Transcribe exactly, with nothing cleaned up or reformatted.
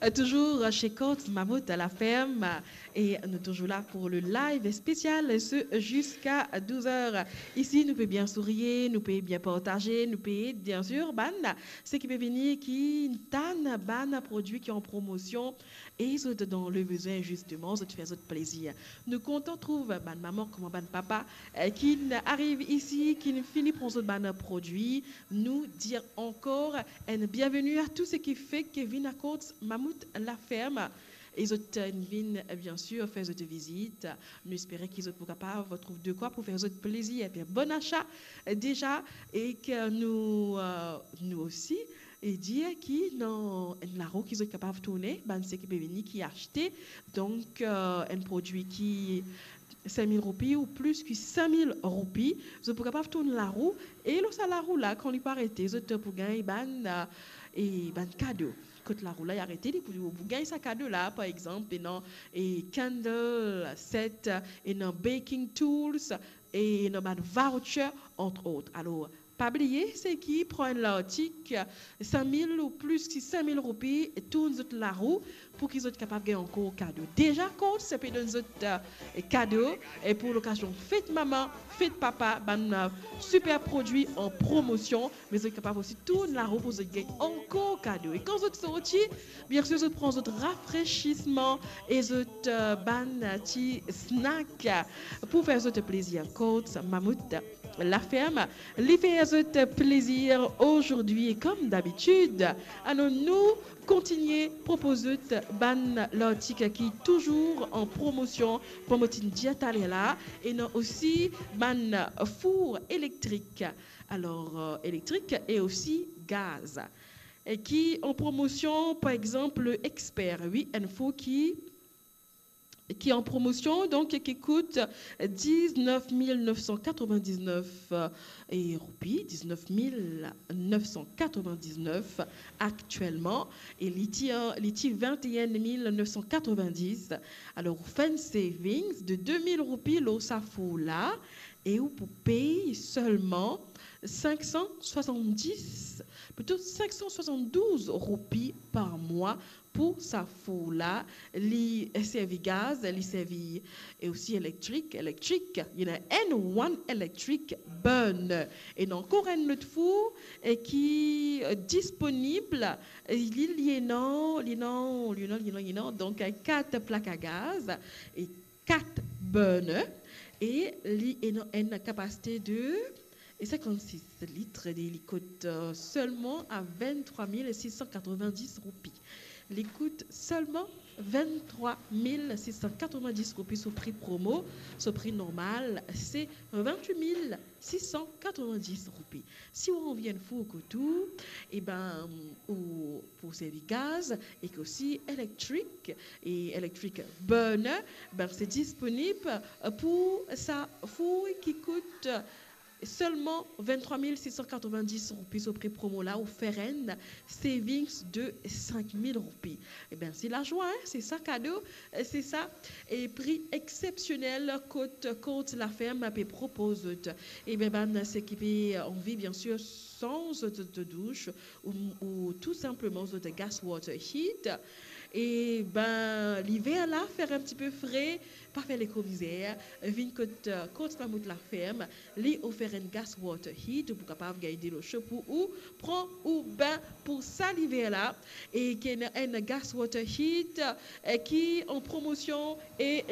Euh, toujours chez Courts Mammouth à la ferme, euh, et nous toujours là pour le live spécial, ce jusqu'à douze heures. Ici, nou pe bien sourir, nou pe bien partager, nou pe ed, bien sûr, bann seki pe vini, ki tann bann prodwi ki an promosion, e zot dan le bezwin, zisteman, zot fer zot plezir. Nou kontan trouv bann mama kouma bann papa, euh, ki ariv isi, ki fini pran zot bann prodwi. Nou dir ankor enn bienveni a tou seki fek vinn a Courts Mammouth la ferme. E zot, euh, vinn, euh, bien sûr, fer zot vizit. Nou espere ki zot pou kapav trouv de kwa pou fer zot plezir. Ebien, bon achat, euh, deza, e ki nou, euh, nou osi, e dir ki ena enn larou ki zot kapav tourne, bann seki pe vini, ki aste, donk, euh, enn prodwi ki sink mil roupi ou plis ki sink mil roupi, zot pou kapav tourn larou, e lor sa larou la, kan li pou arete, zot pou gagn bann, euh, e bann kado. Kot larou la, li arete, li pou, pou gagn sa kado la, par exanp, ena, e candle set, ena baking tools, e ena bann voucher, entre autres. Alor, pa bliye, seki pran enn lartik, sink mil ou plis ki sink mil roupi, tourn zot larou pou ki zot kapav gagn ankor kado. Deza, Courts pe donn zot, euh, kado, e pou lokazion fet mama, fet papa, bann, euh, siper prodwi an promosion, me zot kapav osi tourn larou pou zot gagn ankor kado. E kan zot sorti, bien sûr, zot pran zot rafresisman e zot, euh, bann ti snack pou fer zot plezir. Courts Mammouth la ferme, li fer zot plezir azordi, e kom dabitid, anou, nou kontinie propoz zot bann lartik ki touzour an promosion, kouma mo ti dir taler la, ena osi bann four elektrik. Alor, euh, elektrik e osi gaz. E ki an promosion, par exanp, le Expert, wi, enn four ki ki an promosion, donk ki kout diznef mil nef san katrevin-diznef, euh, roupi, diznef mil nef san katrevin-diznef aktielman, e li ti, euh, li ti vinte et un mille neuf cent quatre-vingt-dix. Alor, ou fer enn savings de de mil roupi lor sa four la, e ou pou pey selman sink san swasanndis, plito sink san swasann-douz roupi par mwa pou sa four la. Li servi gaz, li servi e osi elektrik, elektrik, ena enn one electric burner. Ena ankor enn lot four, e ki, euh, disponib, e li, li ena, li ena, li ena, li ena, li ena, donk, euh, kat plak a gaz e kat burner, e li ena enn kapasite de e sinkannsis lit, e li kout, euh, selman a vinn-trwa mil sis san katrevin-dis roupi. Li kout selman vinn-trwa mil sis san katrevin-dis roupi so pri promo, so pri normal se vinn-wit mil sis san katrevin-dis roupi. Si ou anvi enn four kot ou, e ben, ou pou servi gaz, e ki osi elektrik, e electric burner, ben, se disponib pou sa four ki kout selman vinn-trwa mil sis san katrevin-dis roupi so pri promo la, ou fer enn savings de sink mil roupi. E ben, se lazwa, hein, se sa kado, se sa, e pri exsepsionel kot, kot Courts La Ferme pe propoz zot. E ben, bann seki pe anvi, bien sûr, sanz zot, zot douch, ou, ou tou sinpleman zot gas water heat. E ben, liver la, fer enn tipe fre, pa fer lekomizer, vinn kot, euh, Courts Mammouth La Ferme, li ofer enn gas water heat, ou pou kapav gagn delo so pou ou pran ou bin pou sa liver la. E ki ena enn gas water heat, euh, ki an promosion e